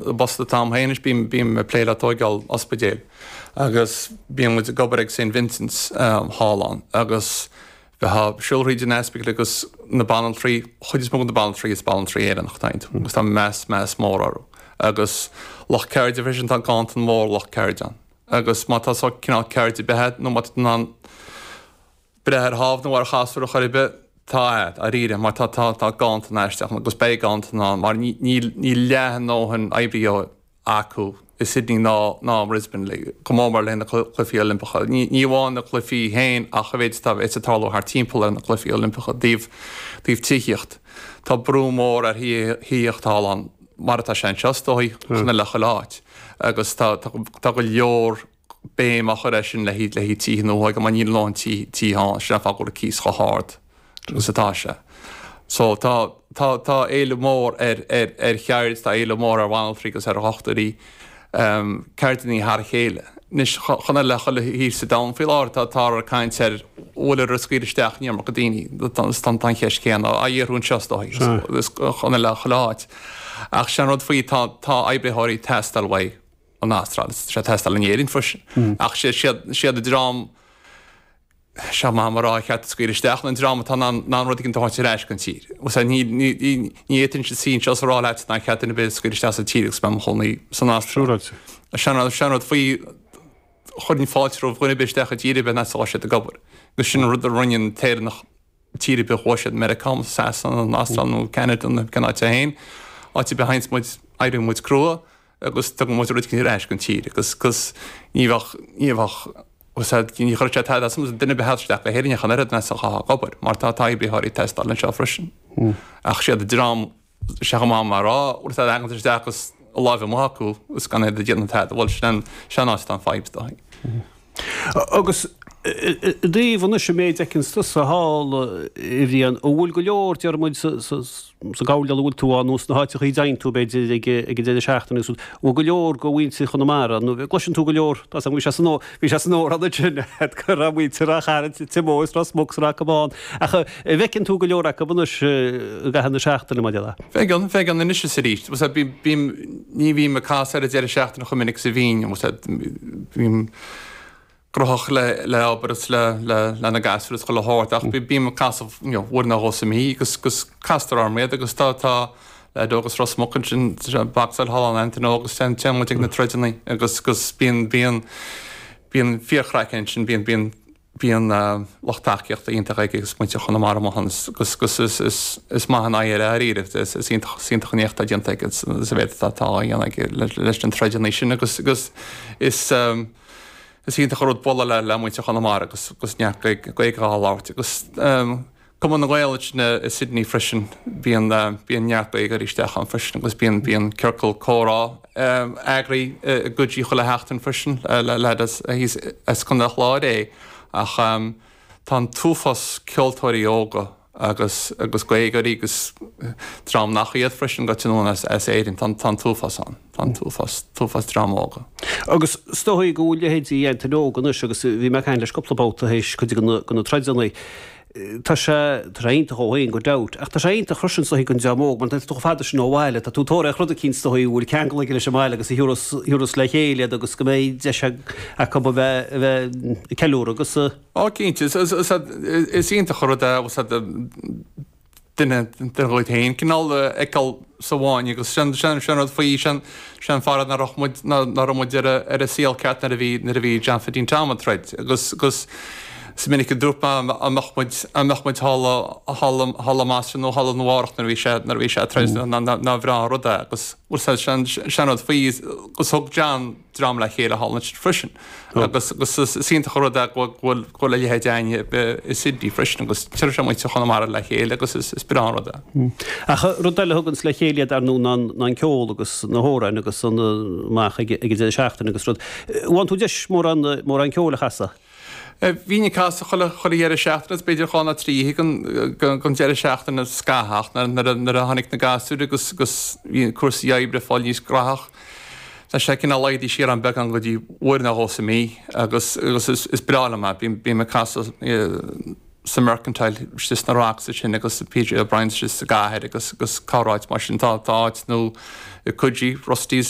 I bpost atá agam féin anois bím bím ag plé le tóigeáil ospidéil agus bíonn muid ag obair ag St Vincent's thall ann agus bheifeá ag siúl thríd an ospidéal agus na banaltraí, chuid is mó de na banaltraí is banaltraí Éireannach atá iontu agus tá meas meas mór orthu agus lucht ceirde freisin tá ganntan mór lucht ceirde ann agus má tá sórt cineál ceird ar bith agat nó má tá tú in ann breith ar thámh nó ar chasúr ar chor ar bith, tá a'd, dáiríre, mar tá, tá, tá ganntan aisteach ann agus beidh ganntan ann mar ní, níl, níl leath a ndóthain oibrithe acu i Sydney ná, ná i mBrisbane, le, go mór mór le na Cluichí Oilimpeacha. Ní, ní amháin na cluichí féin ach a mhéid atá, a bheas ag tarlú thart timpeall ar na Cluichí Oilimpeacha, dtaobh, dtaobh tithíocht. Tá brú mór ar thithíocht thall ann, mar atá sé anseo is dóigh, chomh maith le chuile áit. Agus tá, tá, tá go leor béim á chur air sin le haghaidh tithe nua mar níl a ndóthain tithe ann, sin an fáth go bhfuil an cíos chomh hard agus atá sé. So tá tá tá éileamh mór ar ar ar cheird, tá éileamh mór ar bhanaltraí agus ar dhochtúirí, ceirdeanna thar a chéile. Anois chomh maith le chuile thír sa domhan faoi láthair tá táthar ag caint ar bhfuil ag scaoileadh isteach an iomarca daoine, tá an cheist chéanna á fhiafraí anseo is dóigh, chomh maith le chuile áit. Ach sin an rud faoi tá tá oibritheoirí ag teastáil uaidh. an Astráil. Tá sé ag teastáil in Éirinn freisin. Ach sé siad an dream seo maith mar rá cheart scaoileadh isteach an dream atá in ann rud éigin a thabhairt ar ais don tír. Ní fhéadfainnse suí anseo is a rá leat nár cheart duine ar bith a scaoileadh isteach sa tír agus mé i mo chónaí san Astráil. Sin an rud faoi chuirfinn fáilte roimh dhuine ar bith isteach i dtír ar bith nach bhfuil siad ag obair. Agus sin an rud a rinne an tÉireannach tír ar bith a chuaigh siad, Meiriceá, Sasana, an Astráil nó Ceanada nó cén áit é féin. Áit ar bith a théanns muid, éiríonn muid crua. agus tugann muid rud éigin ar ais don tír agus agus ní bheadh ní bheadh agus ní chuirfeadh sé tada as duine ar bith a theacht isteach go hÉirinn ach an oiread ach ag obair mar tá tá oibritheoirí ag teastáil anseo freisin. Ach siad an dream sé chomh maith mar rá bhfuil siad ag isteach agus a láimh amuigh acu agus gan iad ag déanamh tada bhuel sin an sin an áit atá an fadhb is dóigh. Agus i dtaobh anois an méid a fheiceanns tusa thall, a Bhriain, an bhfuil go leor, déarfaidh muid, sa ghabhal a bhfuil tú ann nó sna háiteachaí a dtéann tú, b'fhéidir, ag an deireadh seachtaine agus rud, an bhfuil go leor de mhuintir Chonamara, nó gcloiseann tú go leor, tá bhí sé san bhí sé san amhrán ansin go raibh muintir Ráth Chairn, Timó is Ros Muc 's Ráth Caban, ach an bhfeiceann tú go leor acu anois i gcaitheamh na seachtaine, mar a déarfá? Feiceann, feiceann anois is arís. Bím, ní bhím ag casadh ar an deireadh seachtaine chomh minic is a bhínn, bím gnóthach le le obair is le le le na gasúir is chuile shórt ach bím ag casadh you know uair nó dhó sa mhí agus agus castar orm iad agus tá tá leaid óg as Ros Muc ansin ag bocsáil thall ann Anthony Óg agus téann téann muid ag na troideanna agus agus bíonn bíonn bíonn fíorchraic ansin bíonn bíonn Bíonn lucht tacaíochta iontach aige agus muintir Chonamara amuigh ann agus is maith an aghaidh air dáiríre. Is iontach an éacht atá déanta aige sa mhéid atá á dhéanamh aige leis na troideanna sin agus is iontach an rud bualadh le muintir Chonamara agus neart Gaeilge á labhairt agus Cumann na nGael ansin i Sydney freisin, bíonn bíonn neart Gaeilgeoirí isteach ann freisin agus bíonn bíonn ciorcal comhrá eagraithe i gCoogee chuile sheachtain freisin le leaid as thíos as Contae an Chláir é ach tá an t-uafás ceoltóirí óga agus agus Gaeilgeoirí agus dream nach iad freisin go tionóin as as Éirinn tá tá an t-uafás ann. Tá an t-uafás, t-uafás dream óga. Agus is dóigh go bhfuil leithéidí Anthony Óg anois agus bhí mé ag caint leis cúpla babhta théis cuid de na troideanna. Tá sé, tá sé iontach dhó féin gan dabht, ach tá sé iontach freisin is dóigh don dream óg mar tá tú chomh fada sin ó bhaile, tá tú ag tóraíocht rud eicínt is dóigh a bhfuil ceangal aige leis an mbaile agus a thiúrfas, thiúrfas le chéile iad agus go mbeidh deis acu a bheith, a bheith ag ceiliúradh agus. Ó cinnte, is, is, is iontach an rud é, duine díot féin cineál a fheiceáil sa bhfáinne agus sin sin sin rud faoi sin sin fara nach raibh muid nach raibh muid ar a ar an saol ceart nuair a bhí nuair a bhí John Phaidín Tom ag troid agus agus is minic a dúirt mé an mbeadh muid an mbeadh muid thall thall thall amaisteach nó thall amárach nuair a bhí sé nuair a bhí sé ag troid nár bhreá an rud é agus sin sin rud faoi agus thug John dream le chéile thall ansin freisin. Agus is iontach an rud é go bhfuil go bhfuil a leithéid againne i Sydney freisin agus tabharfaidh sé muintir Chonamara le chéile agus is breá an rud é. Ach rud eile a thuganns le chéile iad ar ndóigh ná an ceol agus na hamhráin agus an amach ag an deireadh seachtaine agus rud. Bhfaigheann tú deis mórán mórán ceoil a chasadh? Bhínn ag casadh chuile chuile dheireadh seachtaine agus b'fhéidir dhá nó trí oíche den deireadh seachtaine scaitheamh ach nuair a tháinig na gasúir agus agus bhí cúrsaí oibre ag fáil níos gnóthach tá sé cineál laghdaithe siar an beagán go dtí uair nó dhó sa mí agus agus is breá liom é. Bím ag casadh. sa Mercantile istigh sna Rocks ansin agus PJ O'Brien's istigh sa gcathair agus agus corráit mar sin. Tá tá áit nó i Coogee, Rusty's le.